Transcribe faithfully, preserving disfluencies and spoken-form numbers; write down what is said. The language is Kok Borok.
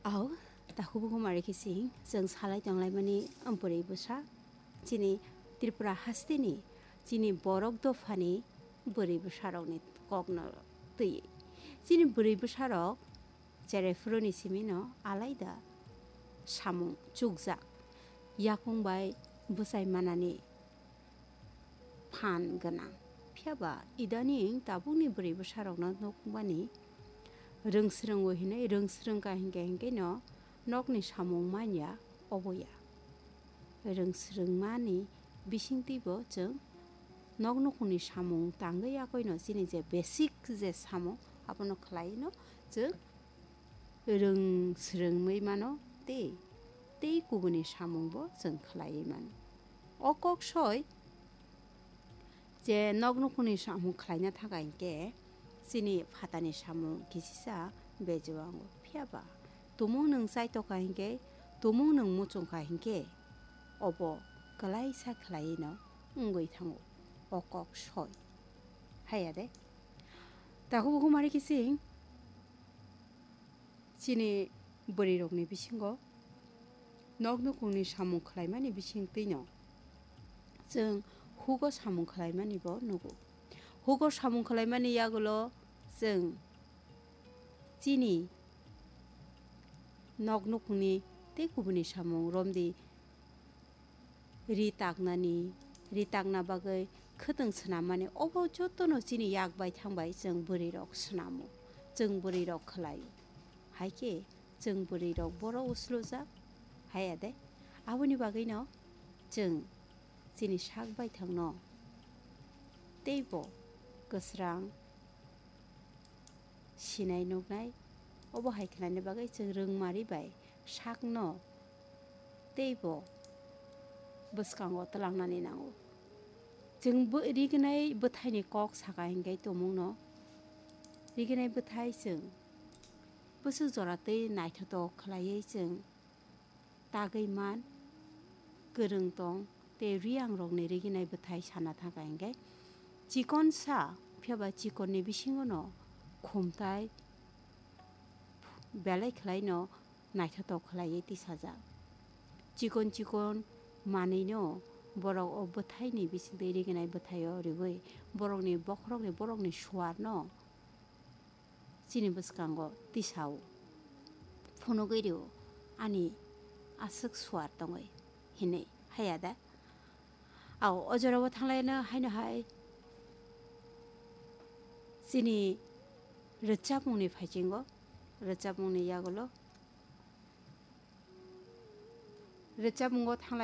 Au, takhuk bukhuk mari khe sing, chwng salai tonglaimani bwrwi bwsa, chini Tripura hasteni, chini borok dophani bwrwi bwsarokni kokno twiwi. Chini bwrwi bwsarok cherai phuruni simino alaida samung chukjak, yakung bai bwchai manani phan gwnang. Phiya ba idaning tabukni bwrwi bwsarokno nukmani rwng swrwngo hinwi rwng swrwng kha hinkhe hinkhe no nokni samung manya obo ya. Rwng swrwngmani bisingtwi bo chwng nok nukhungni samung tangwi yakoino chini je basic je samung abono khlaino chwng rwng swrwngwi mano tei, tei kubuni samungbo chwng khlaiwi mano. O kok soi je nok nukhungni samung khlaina thangkha hinkhe chini phatani samung kisisa bejuango. Phiya ba tumung nwng chaitokha hinkhe, tumung nwng muchungkha hinkhe obo kwlaisa khlaiwino wngwi thango o kok soi. Haya de? Takhuk bukhuk mari khe sing chini bwrwirokni bisingo nok nukhungni samung khlaimani bisingtwino chwng hugo samung khlaimani bo nugo. Hugo samung khlaimani yagulo chwng chini nok nukhungni tei kubuni samung romdi ri taknani, ri takna bagwi khwtwng swnammani, obo jotono chini yak bai thang bai chwng bwrwirok swnamo, chwng bwrwirok khlaio. Hai khe chwng bwrwirok borok uslujak, haya de? Aboni bagwino chwng chini sak bai thangno teibo kwsrang sinai nuknai, obo hai khlaina bagwi chwng rwngmari bai sakno teibo bwskango twlangnani nango. Chwng bo rignai bwthaini kok saka hinkhe tumungno rignai bwthai chwng bwswk jora tei naithotok khlaiwi chwng tagwi man, kwrwng tong tei riyangrokni riginai bwthai sana thangkha hinkhe chikon sa, phiya ba chikonni bisingono khumtai belai khlaino naithotok khlaiwi tisajak. Chikon chikon manwino borok o bwthaini bisingtwi riginai bwthaio riwi borokni bokhorokni, borokni suarno chini bwskango tisao phunugwi rio, ani aswk suar tongwi hinwi, haya da? Ao, o jorao thanglaina haino hai chini rwchapmungni phaichingo, rwchapmungni yagulo, rwchapmungo thanglai.